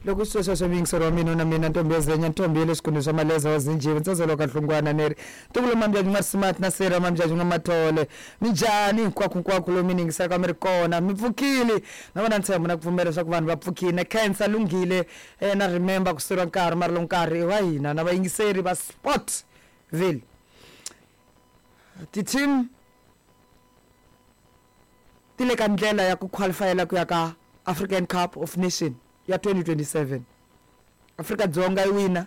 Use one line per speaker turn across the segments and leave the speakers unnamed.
Loko sweswo miyingiseri wa mina na mina ntombi ya zenya, ntombi ya le swikhundleni swa maleza wa zinjivi, ntsazelo ka nhlungwana ni ri ntukulu Mambyaju n'wa Smart na Sera Mambyaju n'wa Mathole. Minjhani hinkwako hinkwako lomu mi ni yingiselaka mi ri kona? Mi pfukile? Na vona ntshembo na ku pfumela leswaku vanhu va pfukile. Na khensa lunghile na remember ku suriwa nkarhi mara lowu nkarhi i wa hina na vayingiseri va Sportville. Ti-team ti le ka ndlela ya ku qualifyela ku ya ka African Cup of Nation ya 2027. Afrika-Dzonga yi wina,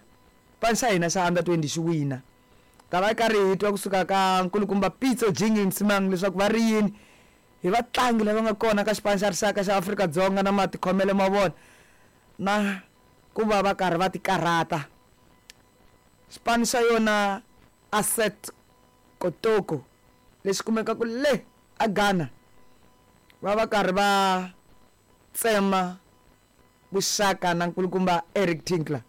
xipano xa hina xa under 20 xi wina. Ta va karhi hi twa kusuka ka nkulukumba Pitso Jingi Msimang leswaku va ri yini hi vatlangi lava nga kona ka xipano xa rixaka xa Afrika-Dzonga na matikhomelo ma vona na ku va va karhi va tikarhata. Xipano xa yona Asset Kotoko lexi kumekaka le a Ghana va va karhi va tsema vuxaka na nkulukumba Eric Tinkler.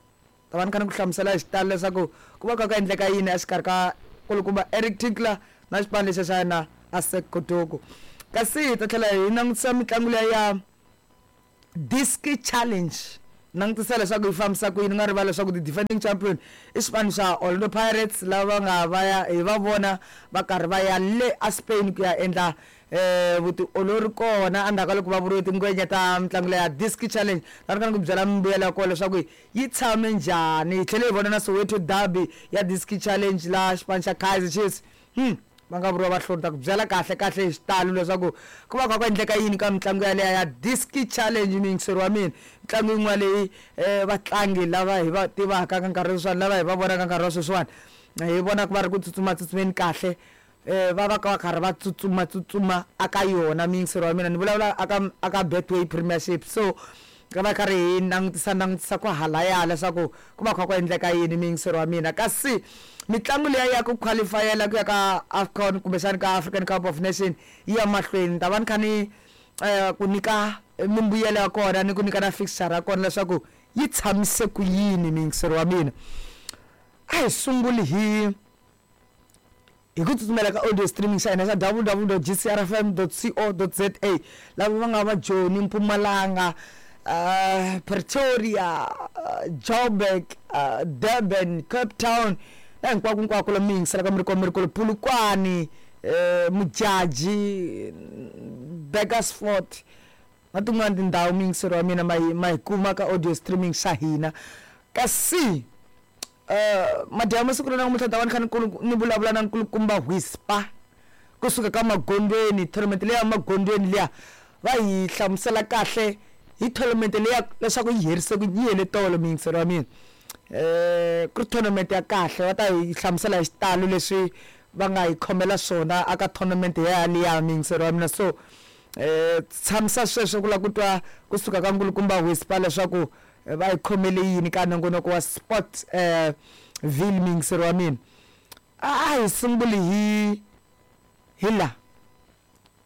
Ta va ni kha ni ku hlamusela hi xitalo leswaku ku va kha ku endleka yini exikarhi ka nkulukumba Eric Tinkler na xipano lexiya xa yena Asec Kotoko. Kasi hi ta tlhela hi langutisa mitlangu liya ya Diski Challenge. Langutisa leswaku yi fambisa ku yini. U nga rivali leswaku ti-defending champion i xipano xa Orlando Pirates lava va nga va ya hi va vona va karhi va ya le a Spain ku ya endla vutiolori kona endzhaku ka loko va vuriwe tingwenya ta mitlangu leya Diski Challenge. Ta ni ku byela mimbuyelo ya kona leswaku yi tshame njhani. Hi tlhele hi vona na Soweto Derby ya Diski Challenge laha xipano xa Kaizer Chiefs va nga vuriwa vahluri. Ta ku byela kahle kahle hi xitalo leswaku ku va kha ku endleka yini ka mitlangu yaleyo ya Diski Challenge, muyingiseri wa mina. Mitlangu yin'wana leyi vatlangi lava hi va tivaka ka nkarhi sweswiwani, lava hi va vonaka nkarhi wa sweswiwani, hi vonaka va ri ku tsutsumatsutsumeni kahle, va va va karhi va tsutsumatsutsuma aka yona, muyingiseri wa mina. Ni vulavula aka aka Betway Premiership. So ka va karhi hi langutisa langutisa ku halaya leswaku ku va kha ku endleka yini, muyingiseri wa mina. Kasi mitlangu liya ya ku qualifyela ku ya ka AFCON kumbexani ka African Cup of Nation yi ya mahlweni. Ni ta va ni kha ni ku nyika mimbuyelo ya kona ni ku nyika na fixture ya kona leswaku yi tshamise ku yini, muyingiseri wa mina. A hi sunguli hi hi ku tsutsumela ka audio streaming xa hina xa www.gcrfm.co.za. Lava va nga va Joni, Mpumalanga, Pretoria, Joburg, Durban, Cape Town na hinkwako hinkwako lomu mi yingiselaka mi ri kona mi ri kule, Polokwane, Mujaji, Burgersfort na tin'wana tindhawu, muyingiseri wa mina, ma hi ma hi kuma ka audio streaming xa hina. Kasi madyambu siku ra namuntlha ta va ni kha ni ni vulavula na nkulukumba Whisper kusuka ka Magondweni. Tournament leya Magondweni liya va hi hlamusela kahle hi tournament leya leswaku yi herise ku yi hele tolo, muyingiseri wa mina. Ku ri tournament ya kahle, va ta hi hlamusela hi xitalo leswi va nga hi khomela swona aka tournament yaliya, muyingiseri wa mina. So tshamisa sweswo ku lava ku twa kusuka ka nkulukumba Whisper leswaku va hi khomele yini ka nongonoko wa Sport Ville, muyingiseri wa mina. A hi sunguli hi hi la.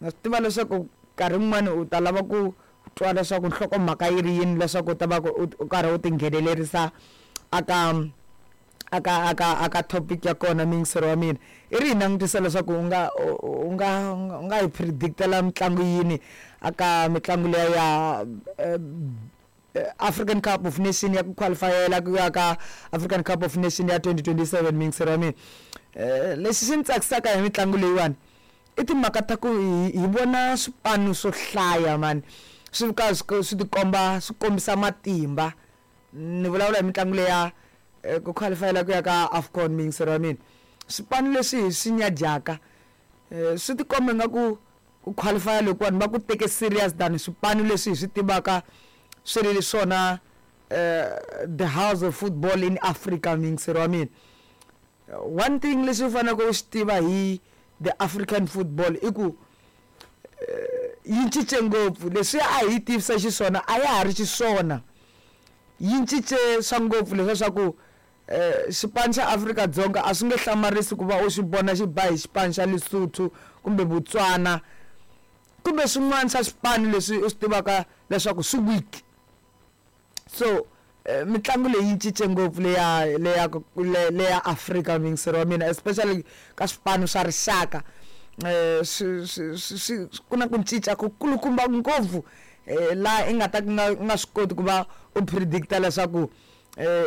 Na swi tiva leswaku nkarhi wun'wani u ta lava ku twa leswaku nhlokomhaka yi ri yini leswaku u ta va u karhi u tinghenelerisa aka aka aka aka topic ya kona, muyingiseri wa mina. I ri hi langutisa leswaku u nga u nga u nga hi predictela mitlangu yini aka mitlangu liya ya African Cup of Nation ya ku qualifyela ku ya ka African Cup of Nation ya 2027, muyingiseri wa mina. Lexi xi ni tsakisaka hi mitlangu leyiwani i timhaka ta ku hi vona swipano swo hlaya mani swi ka swi tikomba swi kombisa matimba. Ni vulavula hi mitlangu leya ku qualifyela ku ya ka AFCON, muyingiseri wa mina. Swipano leswi hi swi nyadyaka swi tikomba ingaku ku qualify lokuwani va ku teke serious than swipano leswi hi swi tivaka swi ri swona the house of football in Africa, muyingiseri wa mina. One thing lexi u faneleke u xi tiva hi the African football i ku yi cince ngopfu. Leswiya a hi yi tivisa xiswona a ya ha ri xiswona, yi cince swa ngopfu leswiya swa ku xipano xa Afrika-Dzonga a swi nge hlamarisi ku va u xi vona xi ba hi xipano xa Lesotho kumbe Botswana kumbe swin'wana swa swipano leswi u swi tivaka leswaku swi weak. So mitlangu leyi yi cince ngopfu leya leya leya Afrika, muyingiseri wa mina, especially ka swipano swa rixaka. Swi swi swi ku na ku cinca ku kulukumba ngopfu. Laha i nga ta nga nga swi koti ku va u predicta leswaku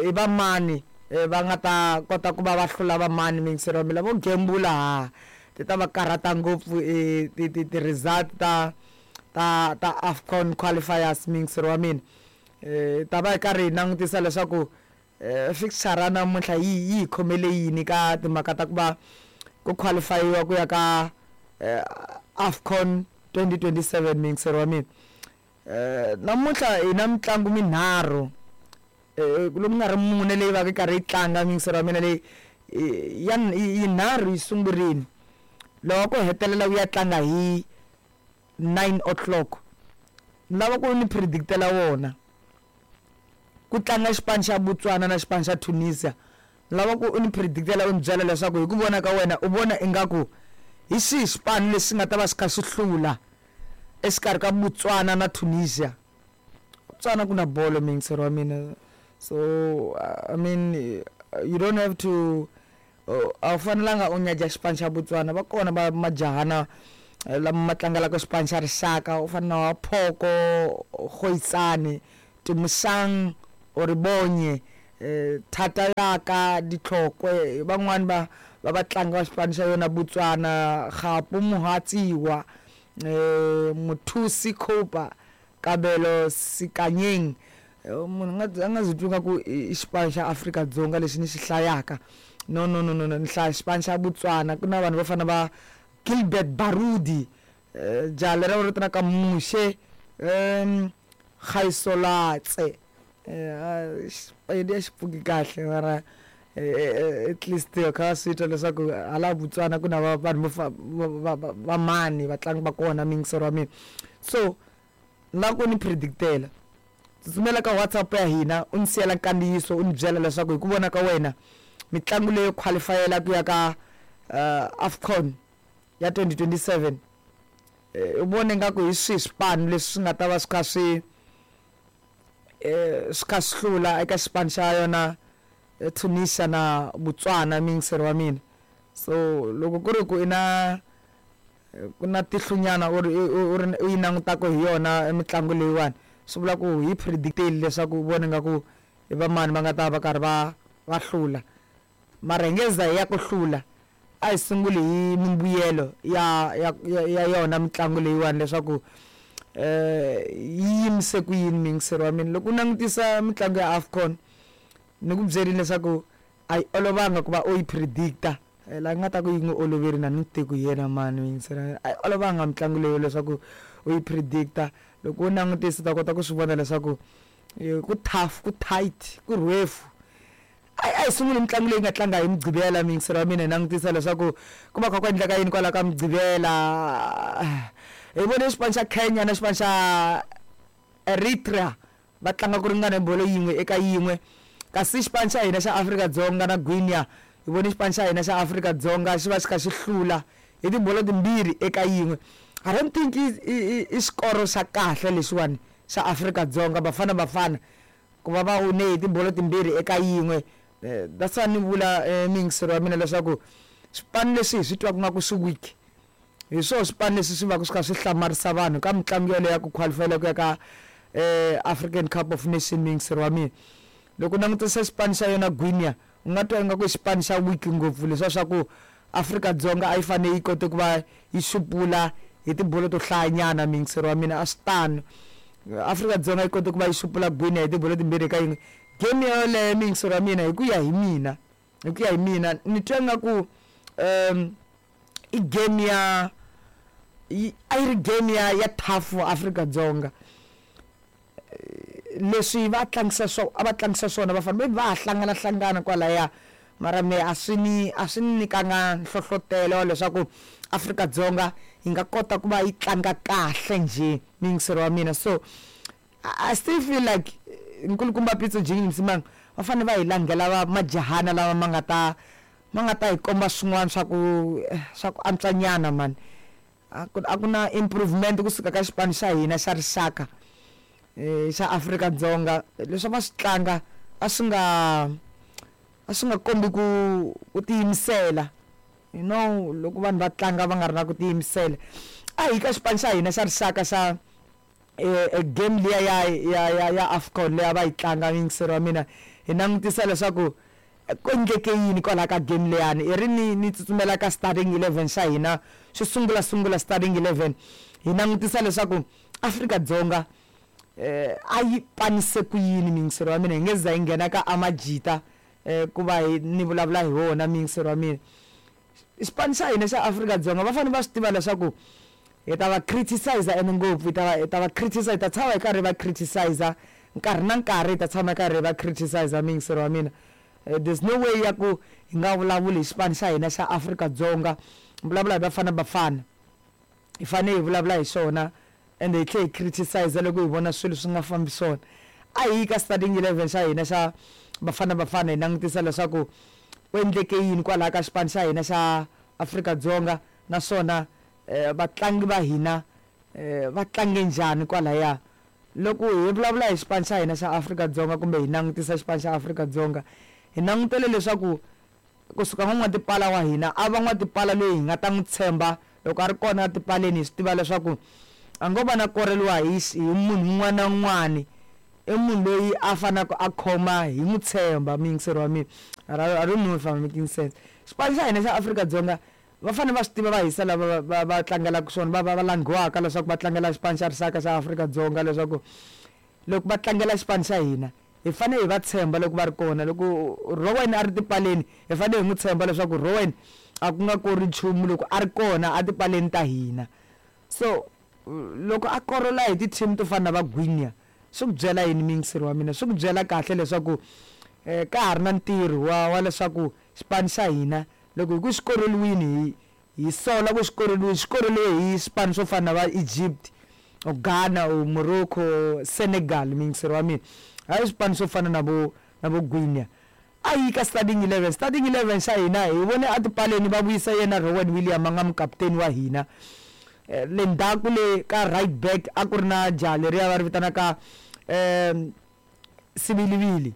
i va mani va nga ta kota ku va va hlula va mani. Miyingiseri wa mina vo gembula ha ti ta va karhata ngopfu ti ti ti-result ta AFCON qualifiers. Miyingiseri wa mina, ta va hi karhi hi langutisa leswaku fixture namuntlha yi hi khomele yini ka timhaka ta ku va ku qualifyiwa ku ya ka AFCON 2027. Miyingiseri wa mina, namuntlha hi na mitlangu minharhu loku nga ri mune leyi va ka yi karhi yi tlanga. Miyingiseri wa mina, leyi ya yinharhu yi sungurile, loko ku hetelela wu ya tlanga hi 9 o'clock. Ni lava ku ni predictela wona. Ku tlanga xipano xa Botswana na xipano xa Tunisia. Ni lava ku u ni predictela, u ni byela leswaku hi ku vona ka wena u vona ingaku hi xihi xipano lexi nga ta va xi kha xi hlula exikarhi ka Botswana na Tunisia. Botswana ku na bolo, miyingiseri wa mina. So I mean, you don't have to, a wu fanelanga u nyaja xipano xa Botswana. Va kona va majahana lama ma tlangelaka xipano xa rixaka, u fana na wa Phoko Goitsane, Tumusang Oribonye, Thata yaka Ditlhokwe, van'wani va vatlangi va xipano xa yona Botswana, Gapo Mohatsiwa, Mothusi Cooper, Kabelo Sikanyeng. Munhu a nga zi twi nga ku i xipano xa Afrika-Dzonga lexi ni xi hlayaka. No, no, no, no, no, ni hlaya xipano xa Botswana. Ku na vanhu vo fana va Gilbert Barudi, jaha leri va vitanaka Mushe Gaisolatse. Xipedi a xi pfuki kahle, mara at least kha va swi twa leswaku hala Botswana ku na vanhu vo va mani vatlangi va kona. Miyingiseri wa mina, so na ku ni predictela, tsutsumela ka WhatsApp ya hina, u ni siyela nkandziyiso, u ni byela leswaku hi ku vona ka wena mitlangu leyo qualifyela ku ya ka AFCON ya 2027, u vone nga ku hi swihi swipano leswi swi nga ta va swi kha swi hlula eka xipano xa yona Tunisia na Botswana. Miyingiseri wa mina, so loko ku ri ku i na ku na tihlunyana u ri u ri u yi langutaka hi yona mitlangu leyiwani, swi vula ku hi predictile leswaku u vone nga ku i va mani va nga ta va karhi va hlula. Mara hi nge za hi ya ku hlula, a hi sunguli hi mimbuyelo ya yona mitlangu leyiwani leswaku yi yimise ku yini. Miyingiseri wa mina, loko u langutisa mitlangu ya AFCON, ni ku byerile leswaku a yi olovanga ku va u yi predicta. La nga ta ku yi n'wi oloveri na ni tiku hi yena mani. Miyingiseri, a yi olovanga mitlangu leyi leswaku u yi predicta. Loko u langutisa u ta kota ku swi vona leswaku ku tough, ku tight, ku rhefu. A hi sunguli mitlangu leyi nga tlanga hi Mugqivela. Miyingiseri wa mina, hi langutisa leswaku ku va kha ku endleka yini kwala ka Mugqivela. Hi vone xipano xa Kenya na xipano xa Eritrea va tlanga ku ringana hi bolo 1-1, kasi xipano xa hina xa Afrika-Dzonga na Guinea, hi vone xipano xa hina xa Afrika-Dzonga xi va xi kha xi hlula hi tibolo 2-1. I don't think i xikoro xa kahle lexiwani xa Afrika-Dzonga, Bafana Bafana, ku va va wine hi tibolo 2-1. That's why ni vula, miyingiseri wa mina, leswaku swipano leswi hi swi twaka nga ku swi weak hi swona swipano leswi swi va ku swi kha swi hlamarisa vanhu ka mitlangu yoleyo ya ku qualifyela ku ya ka African Cup of Nation. Miyingiseri wa mina, loko u langutisa xipano xa yona Guinea, u nga twa ingaku i xipano xa weak ngopfu, leswiya swa ku Afrika-Dzonga a yi fanele yi kote ku va yi xupula hi tibolo to hlayanyana. Miyingiseri wa mina, a swi tano. Afrika-Dzonga yi kote ku va yi xupula Guinea hi tibolo 2-1. Game yoleyo, miyingiseri wa mina, hi ku ya hi mina ni twa ingaku i game ya a yi ri game ya tough for Afrika-Dzonga. Leswi va tlangisa swo a va tlangisa swona, va fanele va ha hlangana hlangana kwalaya, mara me a swi ni nyikanga nhlohlotelo wa leswaku Afrika-Dzonga yi nga kota ku va yi tlanga kahle njhe. Miyingiseri wa mina, so I still feel like nkulukumba Pitso Jingini Msimang va fanele va hi langhela va majahana lama ma nga ta hi komba swin'wana swa ku antswanyana mani. A ku na improvement kusuka ka xipano xa hina xa rixaka xa Afrika-Dzonga. Leswi va swi tlanga a swi nga kombi ku tiyimisela. Loko vanhu va tlanga va nga ri na ku tiyimisela. A hi ka xipano xa hina xa rixaka xa Game liya ya AFCON leyi a va yi tlanga, muyingiseri wa mina, hi langutisa leswaku ku endleke yini kwalaho ka game leyani. I ri ni tsutsumela ka starting 11 xa hina xo sungula sungula, starting 11, hi langutisa leswaku Afrika-Dzonga a yi panise ku yini, muyingiseri wa mina. Hi nge za hi nghena ka Amajita ku va hi ni vulavula hi wona, muyingiseri wa mina. Xipano xa hina xa Afrika-Dzonga va fanele va swi tiva leswaku hi ta va criticize, ene ngopfu hi ta va criticize, hi ta tshama hi karhi va criticize nkarhi na nkarhi, hi ta tshama hi karhi hi va criticize, muyingiseri wa mina. There's no way ya ku hi nga vulavuli hi xipano xa hina xa Afrika-Dzonga, vulavula hi Bafana Bafana. Hi fanele hi vulavula hi xona, ende hi tlhela hi criticize loko hi vona swilo swi nga fambi swona. A hi yi ka starting 11 xa hina xa Bafana Bafana, hi langutisa leswaku ku endleke yini kwalaho ka xipano xa hina xa Afrika-Dzonga, naswona vatlangi va hina va tlange njhani kwalaya. Loko hi vulavula hi xipano xa hina xa Afrika-Dzonga kumbe hi langutisa xipano xa Afrika-Dzonga, hi langutele leswaku kusuka n'wan'watipala wa hina a va n'watipala loyi hi nga ta n'wi tshemba loko a ri kona etipaleni. Hi swi tiva leswaku a ngo va na koreliwa hi munhu un'wana na un'wani, i munhu loyi a faneleke a khoma, hi n'wi tshemba, muyingiseri wa mina. I don't know if I'm making sense. Xipano xa hina xa Afrika-Dzonga va fanele va swi tiva, va hisa lava va tlangelaka swona, va langhiwaka leswaku va tlangela xipano xa rixaka xa Afrika-Dzonga, leswaku loko va tlangela xipano xa hina hi fanele hi va tshemba loko va ri kona. Loko Rowan a ri tipaleni, hi fanele hi n'wi tshemba leswaku Rowan a ku nga kori nchumu loko a ri kona etipaleni ta hina. So loko a korola hi ti-team to fana na va Guinea, swi ku byela yini, muyingiseri wa mina? Swi ku byela kahle leswaku ka ha ri na ntirho wa leswaku xipano xa hina loko hi ku xi koroliwini, hi sola ku xi koroliwini, xi koroliwe hi swipano swo fana na va Egypt or Ghana or Morocco, Senegal, muyingiseri wa mina, hayi swipano swo fana na vo Guinea. A yi ka starting 11. Starting 11 xa hina, hi vone etipaleni va vuyisa yena Rowan William, a nga mukaputeni wa hina. Le ndzhaku le ka right back a ku ri na jaha leriya va ri vitanaka Sibilibili,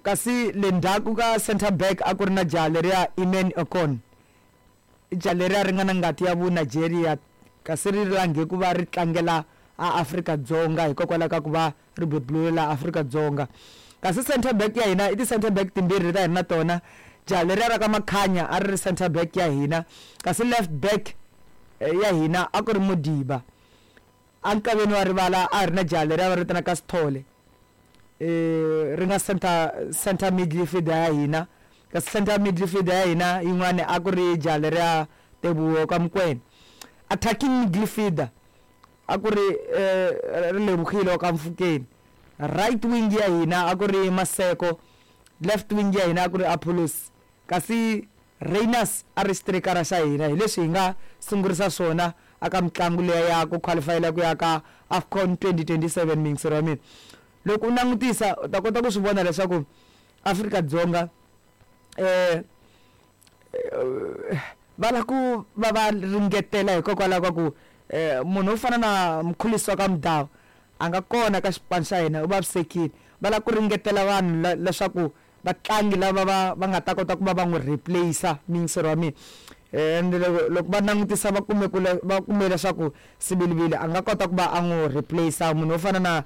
kasi le ndzhaku ka center back a ku ri na jaha leriya Iman Okon, jaha leriya ri nga na ngati ya vu Nigeria, kasi ri langhe ku va ri tlangela a Afrika-Dzonga hikokwalaho ka ku va ri beburiwe laha Afrika-Dzonga. Kasi center back ya hina i ti-center back timbirhi leti a hi ri na tona, jaha leriya ra ka Makhanya a ri ri center back ya hina, kasi left back ya hina a ku ri Modiba. Enkaveni wa rivala a ri na jaha leriya va ri vitanaka Sithole, ri nga center midfielder ya hina, kasi center midfielder ya hina yin'wani a ku ri jaha leriya Teboho ka Mokoena. Attacking midfielder a ku ri ri Lebohile wa ka Mfukeni. Right wing ya hina a ku ri Maseko, left wing ya hina a ku ri Apollos, kasi Rayners a ri xitirikara xa hina. Hi leswi hi nga sungurisa swona aka mitlangu leya ya ku qualifyela ku ya ka AFCON 2027, muyingiseri wa mina. Loko u langutisa u ta kota ku swi vona leswaku Afrika-Dzonga va lava ku va va ringetela, hikokwalaho ka ku munhu wo fana na Mkhulisi wa ka Mudau a nga kona ka xipano xa hina, u vavisekile. Va lava ku ringetela vanhu leswaku vatlangi lava va nga ta kota ku va va n'wi replace, muyingiseri wa mina. Ende loko va langutisa va kume leswaku Sibilibili a nga kota ku va a n'wi replace, munhu wo fana na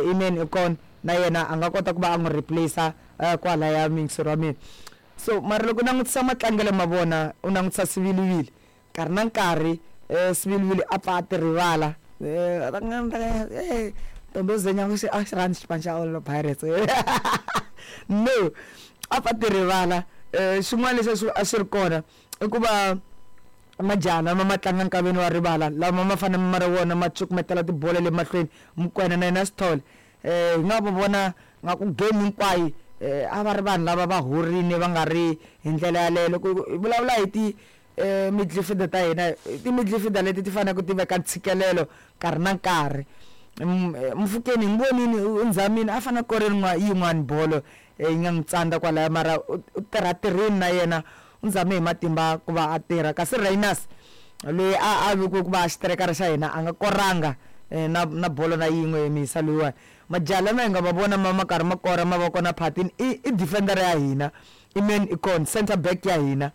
Iman Okon na yena a nga kota ku va a n'wi replace kwalaya, muyingiseri wa mina. So mara loko u langutisa matlangelo ma vona, u langutisa Sibilibili nkarhi na nkarhi, Sibilibili a pfa a ti rivala, Ntombozenya a xi rhandzi xipano xa Orlando Pirates, no, a pfa ti rivala. Xin'wana lexi a xi ri kona i ku va majaha lama ma tlanga nkaveni wa rivala lama ma fanele ma ri wona ma cukumetela tibolo le mahlweni, Mokoena na yena Sithole, hi nga va vona nga ku game hinkwayo a va ri vanhu lava va horini, va nga ri hi ndlela yaleyo. Loko hi vulavula hi ti midfielder ta hina, ti midfielder leti ti faneleke ti veka ntshikelelo nkarhi na nkarhi. Mofokeng hi n'wi vonini u nzamini, a fanele a kore yin'wani bolo yi nga n'wi tsandza kwalaya, mara u tirha tirhini na yena, u zame hi matimba ku va a tirha. Kasi Rayners loyi a vekiwe ku va xiterekara xa hina a nga koranga na bolo na yin'we misa loyiwani. Majaha lama hi nga va vona ma karhi ma kora ma va kona phatini i defender ya hina Iman Okon, center back ya hina,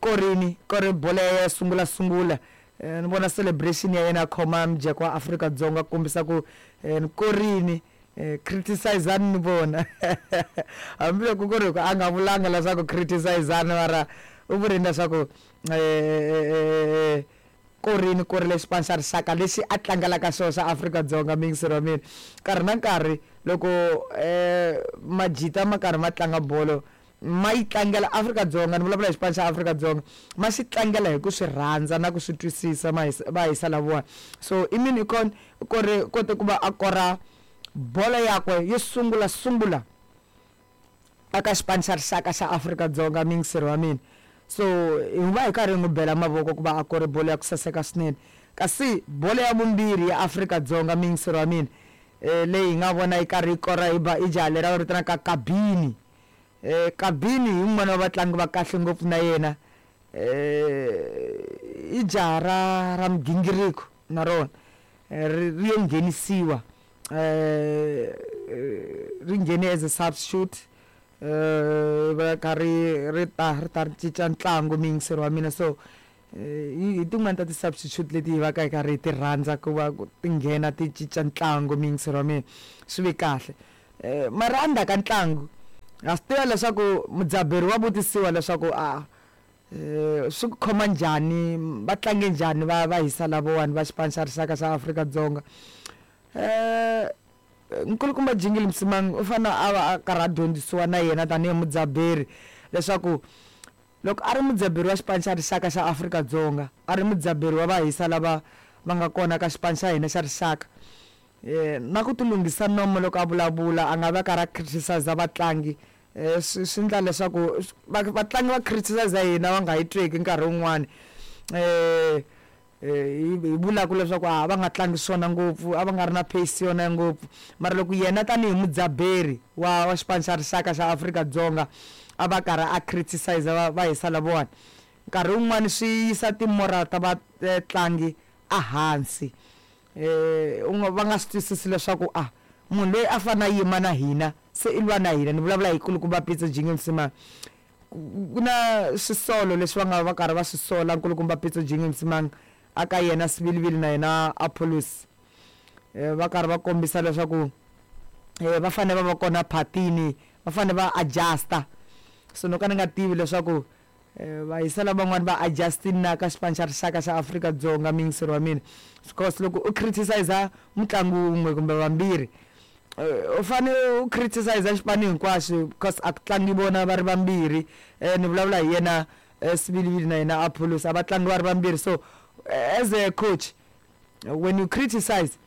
korini kore bolo ya sungula sungula. Ni vona celebration ya yena a khoma mujeko wa Afrika-Dzonga ku kombisa ku ni korini criticizani ni vona hambiloko ku ri ku a nga vulanga leswaku criticizani mara u vurini leswaku korini korile xipano xa rixaka lexi a tlangelaka xona xa Afrika-Dzonga miyingiseri wa mina nkarhi na nkarhi loko majita ma karhi ma tlanga bolo ma yi tlangela Afrika-Dzonga ni vulavula hi xipano xa Afrika-Dzonga ma xi tlangela hi ku swi rhandza na ku swi twisisa ma hisa va hisa lavawani so i mini ikon kore kote ku va a kora bolo yakwe yo sungula sungula aka xipano xa rixaka xa Afrika-Dzonga miyingiseri wa mina so hi va hi karhi hi n'wi bela mavoko ku va a kore bolo ya ku saseka swinene kasi bolo ya vumbirhi ya Afrika-Dzonga miyingiseri wa mina leyi hi nga vona yi karhi yi kora hi ba i jaha leri va vitanaka Kabini Kabini hi wun'wana wa vatlangi va kahle ngopfu na yena i jaha ra ra migingiriko na rona ri ri yo nghenisiwa ri nghene as a substitute va kha ri ri ta ri ta ri cinca ntlangu muyingiseri wa mina so hi tin'wani ta ti-substitute leti hi va ka hi karhi hi ti rhandza ku va ti nghena ti cinca ntlangu muyingiseri wa mina swi ve kahle mara endzhaku ka ntlangu ha swi tiva leswaku mudzaberi wa vutisiwa leswaku a swi ku khoma njhani va tlange njhani va va hisa lavawani va xipano xa rixaka xa Afrika-Dzonga nkulukumba Jingili Msimang u fanele a va a karhi a dyondzisiwa na yena tanihi mudzaberi leswaku loko a ri mudzaberi wa xipano xa rixaka xa Afrika-Dzonga a ri mudzaberi wa vahisa lava va nga kona ka xipano xa hina xa rixaka na ku ti lunghisa nomo loko a vulavula a nga va karhi a criticize vatlangi swi swi endla leswaku vatlangi va criticize hina va nga hi tweki nkarhi wun'wani hi hi vulaka leswaku a va nga tlangi swona ngopfu a va nga ri na pace yona ngopfu mara loko yena tanihi mudzaberi wa wa xipano xa rixaka xa Afrika-Dzonga a va karhi a criticize va va hisa lavawani nkarhi wun'wani swi yisa ti-moral ta vatlangi ehansi u nga va nga swi twisisi leswaku a munhu loyi a fanele a yima na hina se i lwa na hina ni vulavula hi kulukumba Pitso Jingi Msimang ku na swisolo leswi va nga va karhi va swi sola nkulukumba Pitso Jingi Msimang a ka yena Sibilibili na yena Apollos va karhi va kombisa leswaku va fanele va va kona phatini va fanele va adjuster so no ka ni nga tivi leswaku vahisa lavan'wani va adjustini na ka xipano xa rixaka xa Afrika-Dzonga muyingiseri wa mina because loko u criticize mutlangi wun'we kumbe vambirhi u fanele u criticize xipano hinkwaxo because a ku tlangi vona va ri vambirhi ni vulavula hi yena Sibilibili na yena Apollos a va tlangi va ri vambirhi so as a coach when you criticize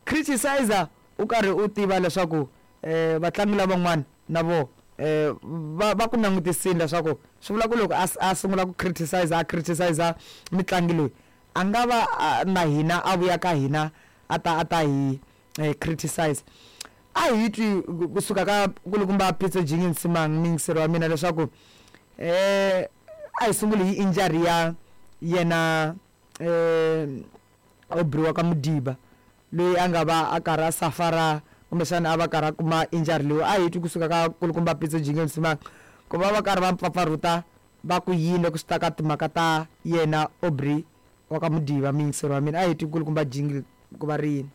criticize u karhi u tiva leswaku vatlangi lavan'wana na vo va va ku langutisile leswaku swi vula ku loko a a sungula ku criticize a criticize mutlangi loyi a nga va na hina a vuya ka hina a ta a ta hi criticize a hi twi kusuka ka nkulukumba Pitso Jingi Msimang muyingiseri wa mina leswaku a hi sunguli hi injury ya yena Aubrey wa ka Modiba loyi a nga va a karhi a safara kumbexana a va karhi a kuma injury leyi a hi twi kusuka ka nkulukumba Pitso Jingi Msimang ku va va karhi va mpfapfarhuta va ku yini loko swi ta ka timhaka ta yena Aubrey wa ka Modiba muyingiseri wa mina a hi twi nkulukumba Jingi ku va ri yini.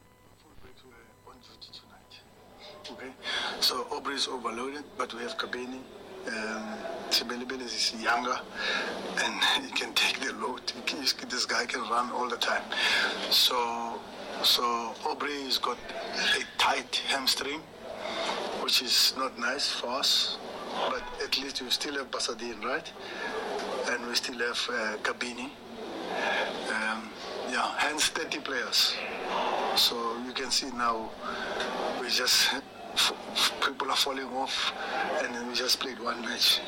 Okay, so Aubrey is overloaded, but we have Kabini. Sebelebele is younger and he can take the load. This guy can run all the time. So, so Aubrey has got a tight hamstring, which is not nice for us. But at least we still have Basadien, right? And we still have Kabini. Yeah, hence 30 players. So you can see now we just people are falling off, and then we just played one match.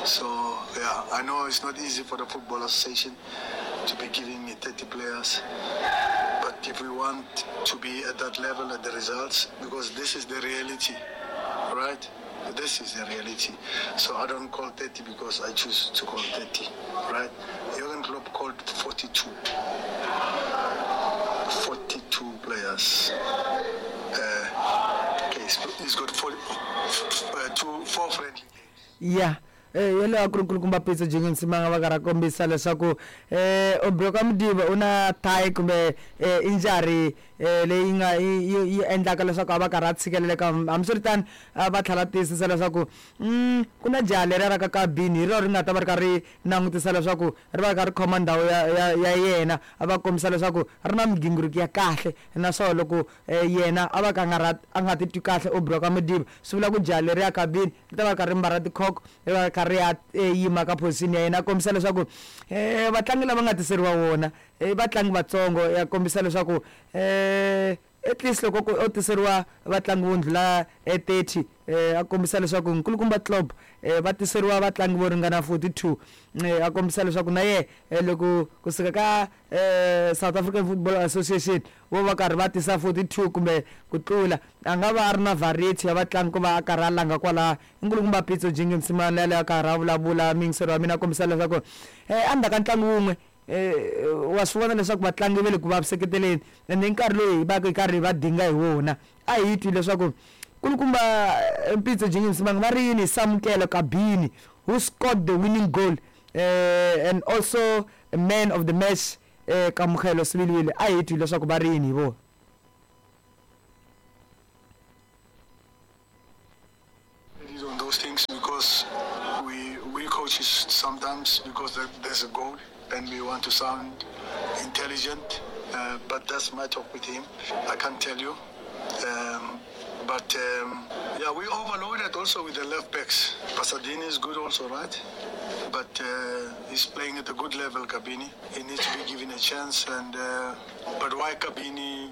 So yeah, I know it's not easy for the Football Association to be giving me 30 players, but if we want to be at that level at the results, because this is the reality, right? This is the reality. So I don't call 30 because I choose to call 30, right? Jurgen Klopp called 42. 42 players. Okay, he's got four, two, four friendly games.
Ya Yeleyo a ku ri nkulukumba Pitso Jingeni Msimanga va karhi a kombisa leswaku Obrey Modiba u na thigh kumbe injury leyi nga yi endlaka leswaku a va karhi a tshikeleleka. Hambiswiritano va tlhela tiyisisa leswaku ku na jaha leriya ra ka Kabini hi rona ri nga ta va ri kha ri langutisa leswaku ri va ri kha ri khoma ndhawu ya yena. A va kombisa leswaku ri na migingiriko ya kahle naswona loko yena a va ka nga a nga titwi kahle Aubrey wa ka Modiba swi vula ku jaha leriya Kabini ri ta va ri kha ri mbala tikhokho ri va ri kha ri ya yima ka position ya yena. A kombisa leswaku vatlangi lava nga tiseriwa wona i vatlangi vatsongo ya kombisa leswaku at least loko o tiseriwa vatlangi vo ndlhula 30 a kombisa leswaku nkulukumba Klopp va tiseriwa vatlangi vo ringana 42 a kombisa leswaku na yena loko kusuka ka South African Football Association vo va karhi va tisa 42 kumbe ku tlula a nga va a ri na variety ya vatlangi ku va a karhi a langa kwalaho. Nkulukumba Pitso Jingi Msimane yaleyo a karhi a vulavula miyingiseri wa mina a kombisa leswaku endzhaku ka ntlangu wun'we wa swi vona leswaku vatlangi va le ku vaviseketeleni ende i nkarhi lowu hi va ka hi karhi hi va dinga hi wona. A hi twi leswaku nkulukumba Pitso Jingi Msimang va ri yini hi Samukelo Kabini who scored the winning goal and also man of the match Kamogelo Sibilibili. A hi twi leswaku va ri yini hi vona.
On those things because we coaches sometimes because there's a goal and we want to sound intelligent, but that's my talk with him. I can't tell you. But we overloaded also with the left backs. Pasadena is good also, right? But he's playing at a good level, Kabini. He needs to be given a chance. But why Kabini?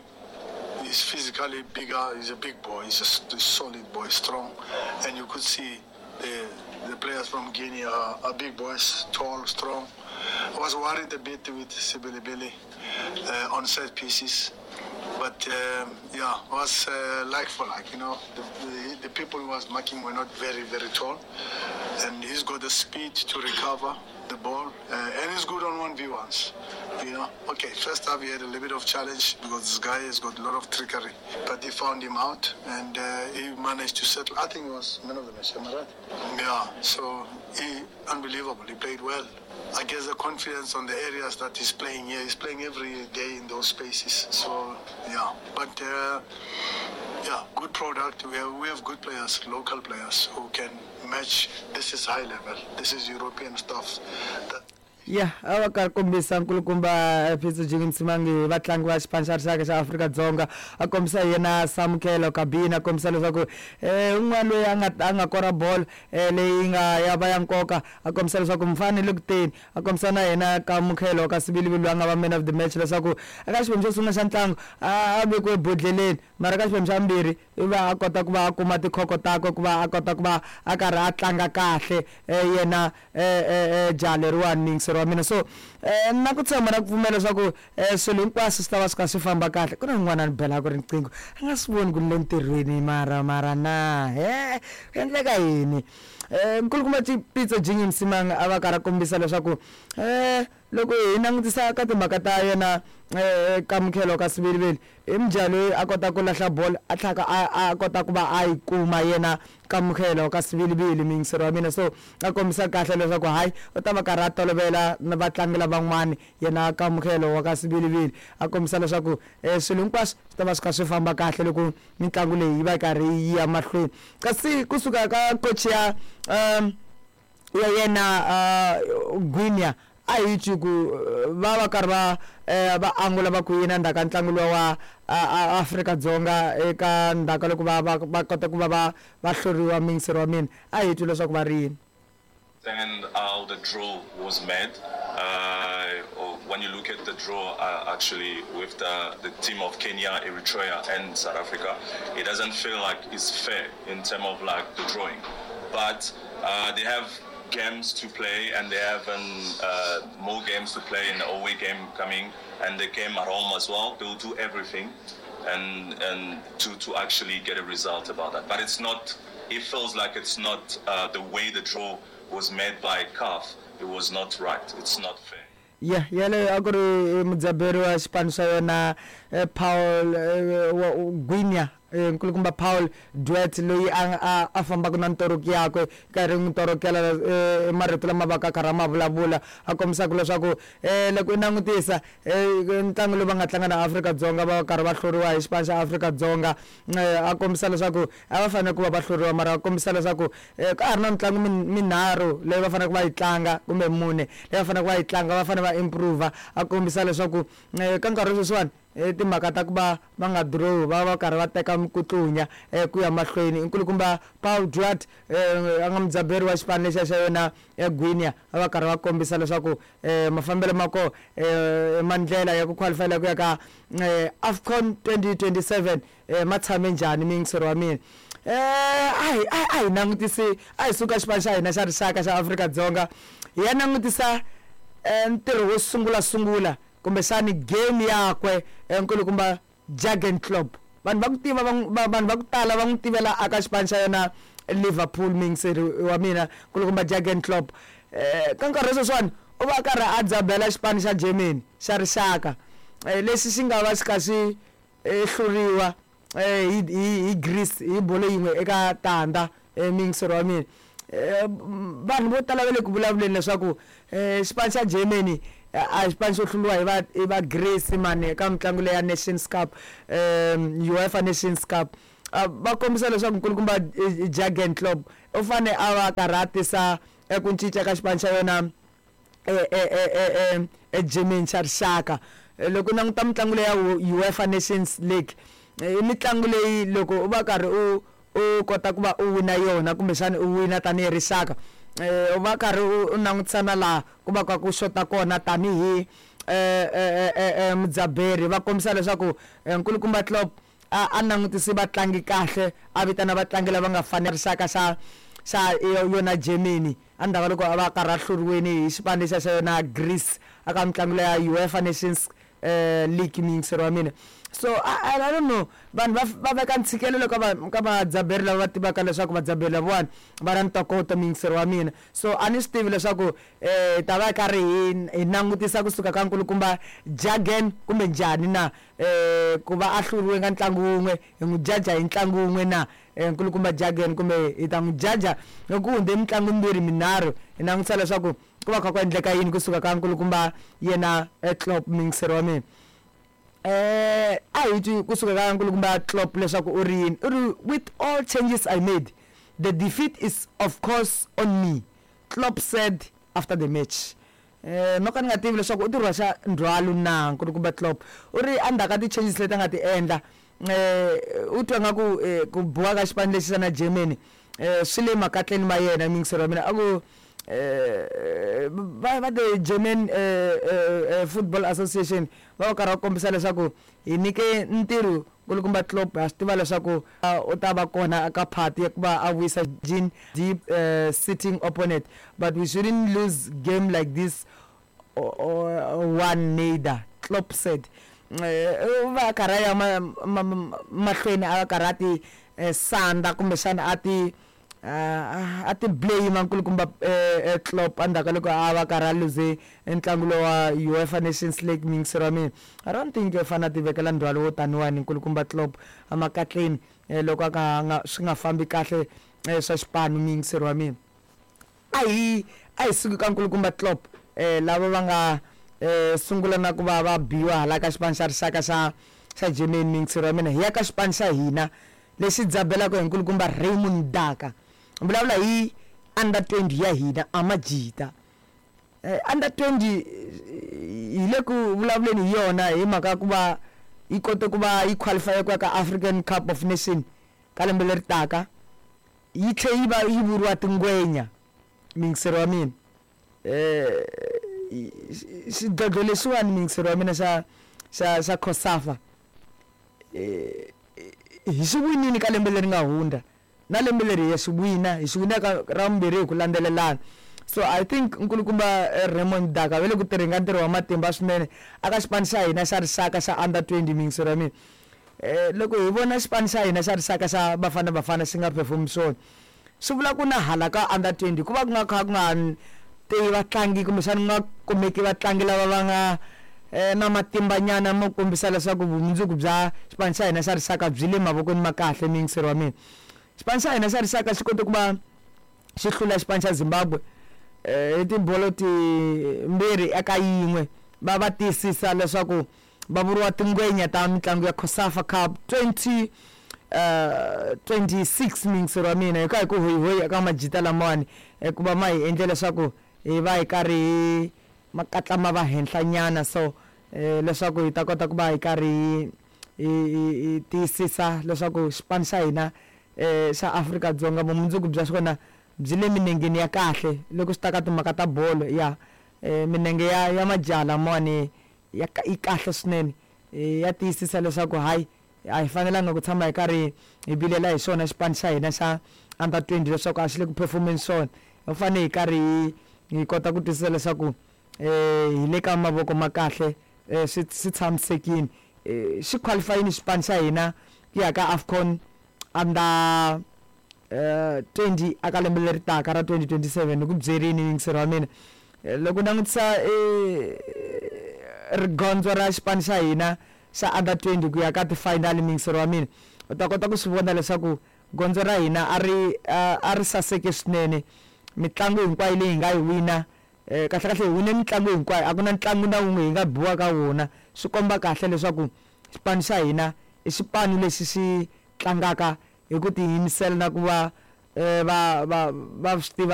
He's physically bigger, he's a big boy, he's a solid boy, strong. And you could see the players from Guinea are big boys, tall, strong. I was worried a bit with Sibilibili on set pieces. But it was like for like, you know. The people who was marking were not very, very tall. And he's got the speed to recover the ball, and he's good on 1v1s, you know. Okay, first half he had a little bit of challenge because this guy has got a lot of trickery, but he found him out and he managed to settle. I think he was man of the match, am I right? Yeah, so he, unbelievable, he played well. I guess the confidence on the areas that he's playing here, he's playing every day in those spaces. So, yeah, but yeah, good product. We have good players, local players who can match. This is high level. This is European stuff. That
Ya, a va karhi kombisa nkulukumba Pitso Jingi Msimangi vatlangi va xipano xa rixaka xa Afrika-Dzonga a kombisa yena Samukelo Kabini a kombisa leswaku un'wana loyi a nga kora bolo leyi nga ya va ya nkoka a kombisa leswaku mfana le ku teni a kombisa na yena Kamogelo ka Sibilibili loyi a nga va man of the match leswaku eka xiphemu xo sungula xa ntlangu a vekiwe bodleleni mara ka xiphemu xa vumbirhi i va a kota ku va a kuma tikhoko takwe ku va a kota ku va a karhi a tlanga kahle yena jaha leriwani miyingiseri wa mina. So na ku tshemba na ku pfumela leswaku swilo hinkwaswo swi ta va swi kha swi famba kahle. Ku na un'wana a ni belaka riqingho a nga swi voni ku ni le ntirhweni mara na ku endleka yini. Nkulukumba Pitso Jingi Msimang a va karhi a kombisa leswaku loko hi langutisa ka timhaka ta yena Kamogelo ka Sibilibili i mujaha loyi a kota ku lahla bolo a tlhaka a kota ku va a yi kuma yena Kamogelo ka Sibilibili miyingiseri wa mina. So a kombisa kahle leswaku hayi u ta va karhi a tolovela na vatlangi lavan'wani yena Kamogelo wa ka Sibilibili a kombisa leswaku swilo hinkwaswo swi ta va swi kha swi famba kahle loko mitlangu leyi yi va yi karhi yi ya mahlweni. Kasi kusuka ka coach ya ya yena Guinea a hi twi ku va va karhi va va angula va ku yini endzhaku ka ntlangu luwa wa Afrika-Dzonga eka ndzhaku ka loko va kota ku va va hluriwa miyingiseri wa mina a hi twi leswaku va ri yini.
And how the draw was made. When you look at the draw, actually with the team of Kenya, Eritrea and South Africa, it doesn't feel like it's fair in terms of like the drawing. But they have games to play and they have more games to play in the away game coming and the game at home as well. They will do everything and to actually get a result about that. But it's not, it feels like it's not the way the draw was made by CAF. It was not right. It's not fair.
Ya, yaleyo a ku ri mudzaberi wa xipano xa yona Paul Guinea, nkulukumba Paul Duet, loyi a fambaka na ntoroki yakwe, karhi n'wi torokela marito lama va ka karhi a ma vulavula, a kombisaka leswaku loko i langutisa ntlangu lowu va nga tlanga na Afrika-Dzonga, va karhi va hluriwa hi xipano xa Afrika-Dzonga. A kombisa leswaku a va fanele ku va va hluriwa, mara a kombisa leswaku ka ha ri na mitlangu minharhu leyi va faneleke va yi tlanga, kumbe mune leyi va faneleke va yi tlanga, va fanele va improve. A kombisa leswaku ka nkarhi sweswiwani timhaka ta ku va va nga draw, va va karhi va teka mikutlunya ku ya mahlweni. Nkulukumba Paul Duarte, a nga mudzaberi wa xipano lexiya xa yona Guinea, a va karhi va kombisa leswaku mafambelo ma koho mandlela ya ku qualifyela ku ya ka AFCON 2027 ma tshame njhani. Miyingiseri wa mina, a hi langutisi, a hi suka xipano xa hina xa rixaka xa Afrika-Dzonga, hi ya langutisa ntirho wo sungula sungula, kumbexani game yakwe, nkulukumba Jurgen Klopp. Vanhu va ku tiva, vanhu va ku tala va n'wi tivela aka xipano xa yona Liverpool. Miyingiseri wa mina, nkulukumba Jurgen Klopp, ka nkarhi wa sweswiwani u va karhi a dzabela xipano xa Germany xa rixaka, lexi xi nga va xi kha xi hluriwa hi Greece hi bolo 1-0. Miyingiseri wa mina, vanhu vo tala va le ku vulavuleni leswaku xipano xa Germany a xipano xo hluriwa hi va Greece mani eka mitlangu leya Nations Cup, UEFA Nations Cup. Va kombisa leswaku nkulukumba Jurgen Klopp u fane a va karhi a tisa ku cinca ka xipano xa yona eGermany xa rixaka. Loko u languta mitlangu leya UEFA Nations League, i mitlangu leyi loko u va karhi u kota ku va u wina yona, kumbexana u wina tanihi rixaka, u va karhi u langutisana laha ku va ka ku xota kona tanihi mudzaberi. Va kombisa leswaku nkulukumba Klopp a langutisi vatlangi kahle, a vitana vatlangi lava nga fanela rixaka xa yona Germany, endzhaku loko a va karhi a hluriweni hi xipano lexiya xa yona Greece aka mitlangu leya UEFA Nations League. Miyingiseri wa mina, so I don't know, vanhu va veka ntshikelelo ka vadzaberi lava va tivaka leswaku vadzaberi lavawani va na ntokoto. Miyingiseri wa mina, so a ni swi tivi leswaku ta va karhi hi langutisa kusuka ka nkulukumba Jurgen kumbe njhani na, ku va a hluriwe ka ntlangu wun'we, hi n'wi jaja hi ntlangu wun'we na nkulukumba Jurgen, kumbe hi ta n'wi jaja loko ku hundze mitlangu mimbirhi minharhu, hi langutisa leswaku ku va kha ku endleka yini kusuka ka nkulukumba yena Klopp. Miyingiseri wa mina, a hi twi kusuka ka nkulukumba Klopp leswaku u ri yini. U ri, "With all changes I made, the defeat is of course on me," Klopp said after the match. No ka ni nga tivi leswaku u ti rhwaxa ndzhwalo na nkulukumba Klopp. U ri endzhaku ka ti-changes leti a nga ti endla, u twa nga ku ku biwa ka xipano lexi xa na Germany swi le makatleni ma yena. Miyingiseri wa mina, a ku va the German Football Association va va karhi va kombisa leswaku hi nyike ntirho nkulukumba Klopp, ha swi tiva leswaku u ta va kona eka party ya ku va a vuyisa jean deep sitting opponent, but we shouldn't lose game like this one neither, Klopp said. U va a karhi a ya mahlweni, a karhi a ti sanda, kumbexana a ti blame nkulukumba Klopp endzhaku ka loko a va karhi a luze ntlangu lowa wa UEFA Nations League. Miyingiseri wa mina, I don't think i fanele a ti vekela ndzhwalo wo taniwani nkulukumba Klopp emakatleni loko a ka nga swi nga fambi kahle swa xipano. Miyingiseri wa mina, a hi suki ka nkulukumba Klopp, lava va nga sungula na ku va va biwa hala ka xipano xa rixaka xa Germany. Miyingiseri wa mina, hi ya ka xipano xa hina lexi dzabelaka hi nkulukumba Raymond Daka. Vulavula hi under 20 ya hina, Amajita. Under 20 hi le ku vulavuleni hi yona hi mhaka ku va yi kote ku va yi qualify ku ya ka African Cup of Nation ka lembe leri taka, yi tlhe yi va yi vuriwa tingwenya. Miyingiseri wa mina, xidlodlo lexiwani, miyingiseri wa mina, xa COSAFA hi xi winini ka lembe leri nga hundza, na lembe leri hi ya xi wina, hi xi wina ka ra vumbirhi hi ku landzelelana. So I think nkulukumba Raymond Daka va le ku tirheni ka ntirho wa matimba swinene aka xipano xa hina xa rixaka xa under 20. Miyingiseri wa mina, loko hi vona xipano xa hina xa rixaka xa Bafana Bafana xi nga perform swona, swi vula ku na hala ka under 20 ku va ku nga kha ku nga tivi vatlangi, kumbexana ku nga kumeki vatlangi lava va nga na matimbanyana mo kombisa leswaku vumundzuku bya xipano xa hina xa rixaka byi le mavokweni ma kahle. Miyingiseri wa mina, xipano xa hina xa rixaka xi kote ku va xi hlula xipano xa Zimbabwe hi tibolo timbirhi eka yin'we, va va tiyisisa leswaku va vuriwa tingwenya ta mitlangu ya COSAFA Cup 20 26. Miyingiseri wa mina, hi ka hi ku hoyihoyi eka majita lamawani ku va ma hi endle leswaku hi va hi karhi hi makatla ma va henhla nyana, so leswaku hi ta kota ku va hi karhi hi tiyisisa leswaku xipano xa hina xa Afrika-Dzonga vumundzuku bya xona byi le minengeni ya kahle loko swi ta ka timhaka ta bolo ya minenge ya majaha lamawani ya yi kahle swinene, ya tiyisisa leswaku hayi, a hi fanelanga ku tshama hi karhi hi vilela hi xona xipano xa hina xa under 20 leswaku a xi le ku performeni swona. Hi fanele hi karhi hi kota ku twisisa leswaku hi le ka mavoko ma kahle, swi tshamisekile. Xi qualifyini xipano xa hina ku ya ka AFCON under 20 aka lembe leri taka ra 2027. Ni ku byerini, yingiseri wa mina, loko langutisa rigondzo ra xipano xa hina xa under 20 ku ya ka ti-final, miyingiseri wa mina, u ta kota ku swi vona leswaku gondzo ra hina a ri saseke swinene. Mitlangu hinkwayo leyi hi nga yi wina, kahle kahle hi wine mitlangu hinkwayo, a ku na ntlangu na wun'we hi nga biwa ka wona. Swi komba kahle leswaku xipano xa hina i xipano lexi xi tlangaka hi ku tiyimisela na ku va va swi tiva.